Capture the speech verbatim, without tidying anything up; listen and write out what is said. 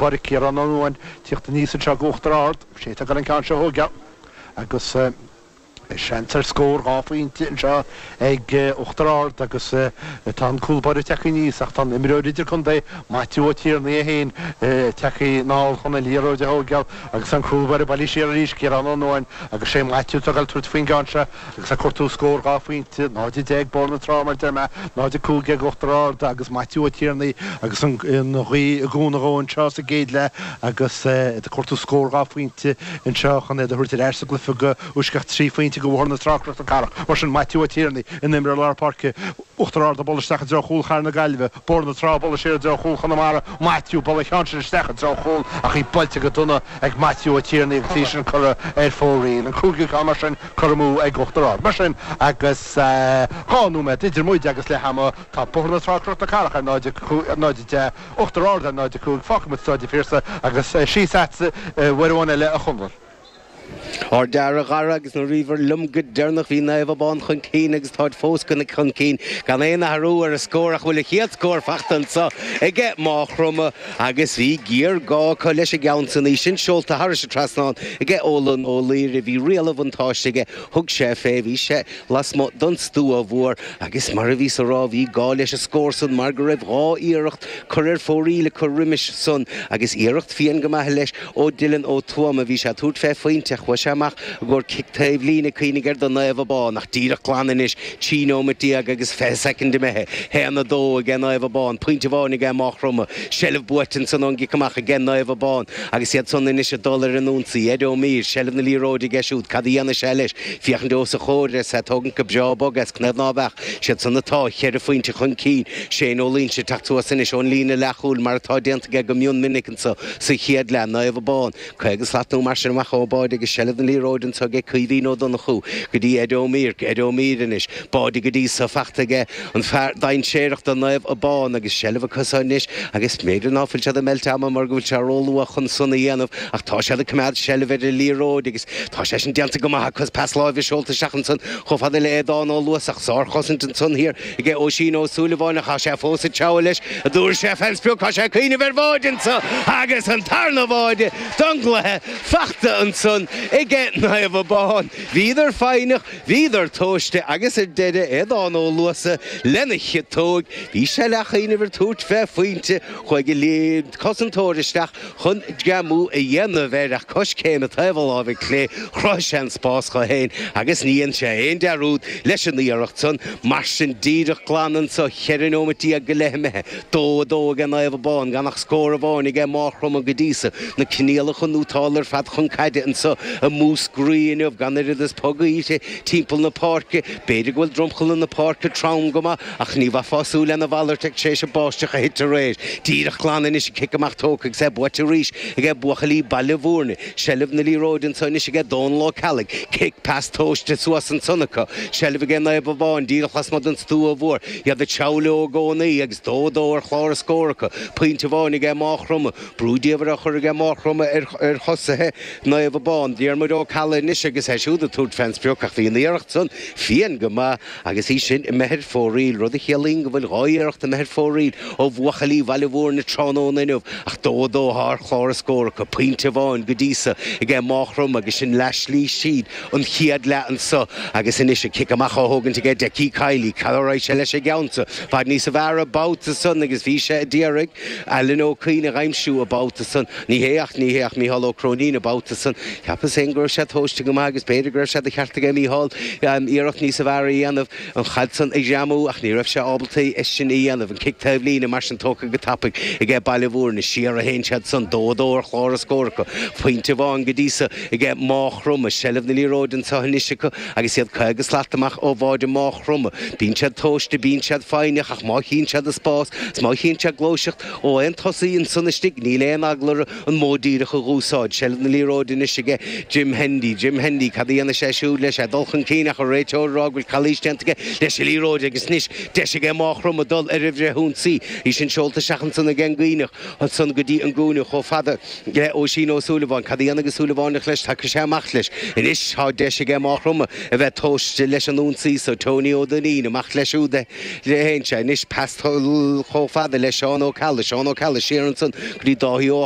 báire Ciarán Ó Nuadháin tíocht aníos anseo go Uachtar Ard, sé atá ag dul an ceann seo a thógáil agus seans ar scór dhá phointe anseo ag Uachtar Ard agus tá an cúl báire tagtha aníos ach tá an imreoir idirchontae Maitiú Ó Tiarnaigh é féin tagtha anall chun an liathróid a thógáil agus an cúl báire bailithe siar arís Ciarán Ó Nuadháin agus sé Maitiú atá ag dul tabhairt faoin gceann seo agus ag cuartú scór dhá phointe, náid a deich Bóthar na Trá mar a deir mé, náid a cúig déag Uachtar Ard agus Maitiú Ó Tiarnaigh agus an ghaoth ag cúnamh dhó anseo sa gcéad leath agus ag cuartú scór dhá phointe anseo chun iad a thabhairt ar ais sa gcluiche go uaisceacht trí phointe go Bhóthar na Trá Cnoc na Cathrach. Mar sin, Maitiú Ó Tiarnaigh, ina imreoir lár páirce, Uachtar Ard ag bualadh isteach i dtreo chúl Chathair na Gaillimhe, Bóthar na Trá ag bualadh siar i dtreo chúl Chonamara, Maitiú ag bualadh an cheann sin isteach i dtreo chúl ach í buailte go dona ag Maitiú Ó Tiarnaigh agus í sin curtha ar fóraoil. An cúigiú ceann mar sin curtha amú ag Uachtar Ard. Mar sin, agus dhá nóiméad idir muid agus leath ama, tá Bóthar na Trá Cnoc na Cathrach ar náid a deich, Uachtar Ard ar náid a cúig, fágfaidh muid Staid an Phiarsaigh agus síos agatsa uair amháin eile a Chonaill. Thar lear, a Dhara, agus nuair a bhíobhair liom go deireanach bhí Naomh Abán chun cinn agus táid fós chun cinn gan aon athrú ar an scór ach bhfuil a chéad scór fachta anso aige Maigh Chromtha agus bhí géarghá acu leis an gceann san, í sin seolta thairis an trasnán aige Eolan Ó Laoire. Bhí riail an bhuntáiste aige, thug sé fé, bhí sé lasmuigh don stua mhór agus mar a bhíos a rá bhí gá leis an scór san mar go raibh dhá iarracht curtha ar fóraoil acu roimis san agus iarracht fiáin go maith leis ó Dylan Ó Tuama. Bhí sé ag tabhairt fé phointe ach chuaigh sé amach i gcomhair cic taobh líne, cuimhnigh air do Naomh Abán ach díreach glan anois, trí nóimeat déag agus fiche soicind imithe, haon a dó aige Naomh Abán, pointe amháin aige Maigh Chromtha, seilbh buaite ansan ón gcic amach aige Naomh Abán agus iad san anois ag dul ar an ionsaí. Ed Ó Mír, seilbh na liathróide aige siúd, cad a dhéanfaidh sé leis? Féachaint os a chomhair is é ag tógaint go breá bog as cnaimh ná beadh siad san atá cheithre phointe chun cinn. Shane Ó Loingsigh ag teacht suas anois ón líne leathchúil mar atá déanta aige go mion minic anso sa chéad leath. Naomh Abán, caoga slat nó mar sin amach ón báide agus seilbh na liathróide anso aige Caoimhín Ó Donnchú go dtí Ed Ó Mír, Ed Ó Mír anois, báide go dtí so fachta aige an fear dainséarach do Naomh Abán agus seilbh acu so anois agus b'fhéidir ná fuil siad ag meilt ama mar go bhfuil sé róluath chun san a dhéanamh ach tá siad ag coimeád seilbh ar an liathróid agus tá sé sin déanta go maith acu. Pas láimhe seolta isteach ansan chomh fada le Aodán Ó Luasach. Sárchosaint ansan thiar aige Oisín Ó Súilleabháin ach tá sé fós ag treabhadh leis an dtabharfaidh sé fén sprioc. Tá sé ag cuimhneamh ar bháide anso agus an tarna bháide don gcluiche fachta ansan aige Naomh Abán. Bhíodar foighneach, bhíodar tomhaiste agus ar deireadh Aodán Ó Luasa lena chiotóg. Bhí sé leathchuimhneamh ar tabhairt fé phointe, chuaigh an cosantóir isteach chun greamú a dhéanamh air ach coiscéim taobh a láimhe clé, chruthaigh sé an spás dho fhéin agus ní dhein sé aon dearúd leis an iarracht san. Mar sin, díreach glan anso, cheithre neomat déag go leith imithe, dó a dó aige Naomh Abán, gan ach scór amháin aige Maigh Chromtha go dtí so. Na coinníollacha nótálta ar fad chun caide anso i Múscraí inniu, gan oiread is pog gaoithe timpeall na páirce. B'fhéidir go bhfuil dromchla na páirce trom go maith ach ní bheifeá ag súil lena mhalairt tar éis an báisteach a thit aréir. Díreach glan anois an cic amach tógtha agus é buaite arís aige buachaillí Baile Bhúirne. Seilbh na liathróide anso anois aige Dónal Ó Ceallaigh. Cic, pas tomhaiste suas ansan acu. Seilbh aige Naomh Abán díreach lasmuigh den stua mhór. Iad ag treabhadh leo i gcónaí agus dó a dó ar chlár na scór acu. Pointe amháin aige Maigh Chromtha. Brú diamhair á chur aige Maigh Chromtha ar thosaithe Naomh Abán. Diarmuid Ó Ceallaigh anois agus é siúd ag tabhairt fén sprioc ach bhí an iarracht san fiáin go maith agus í sin imithe ar fóraoil, rud a chiallaíonn go bhfuil dhá iarracht imithe ar fóraoil ó bhuachaillí Bhaile Bhúirne tráthnóna inniu ach dó a dó atá ar chlár na scór acu, pointe amháin go dtí so aige Maigh Chromtha agus sin leath slí síd an chéad leath anso agus anois an cic amach á thógaint aige Deccie Kiely. Cá raghaidh sé leis an gceann so? Bhfad níosa bhfearr an babhta san agus bhí sé a d'iarraidh Alan Ó Cuinn a dh'aimsiú an babhta san. Ní hé ach ní hé ach Mícheál Ó Cróinín an babhta san. Cheapas féin go raibh sé tomhaiste go maith agus b'fhéidir go raibh sé de cheart aige Mícheál iarracht níosa bhfearr a dhéanamh an chaid san a ghreamú ach ní raibh sé ábalta é sin a dhéanamh. An cic taobh líne mar sin tógtha go tapaidh aige Baile Bhúirne. Siar a théann siad san, dó a dó ar chlár na scór acu. Pointe amháin go dtí so aige Maigh Chromtha. Seilbh na liathróide anso anois acu agus iad caoga slat amach ó bháide Maigh Chromtha. Bíonn siad tomhaiste, bíonn siad foighneach ach má chíonn siad an spás is má chíonn siad gluaiseacht ó aon tosaí ansan istigh, níl aon eagla orthu an modh díreach a dh'úsáid. Seilbh na liathróide anois aige Jim Hendy. Jim Hendy, cad a dhéanfaidh sé siúd leis? É ag dul chun cinn ach an réiteoir ag rá go bhfuil calaois déanta aige leis an liathróid agus anois deis aige Maigh Chromtha dul ar an bhfrithionsaí. Í sin seolta isteach ansan ag an gCuimhneach ansan go dtí an gcúinne chomh fada le Oisín Ó Súilleabháin. Cad a dhéanfaidh an Súilleabhánach leis? Tiocfaidh sé amach leis. Anois tá deis aige Maigh Chromtha a bheith tomhaiste leis an ionsaí so. Tony Ó Duinnín, amach leis siúd a théann sé. Anois pas chomh fada le Seán Ó Ceallaigh. Seán Ó Ceallaigh siar ansan go dtí Dáithí Ó.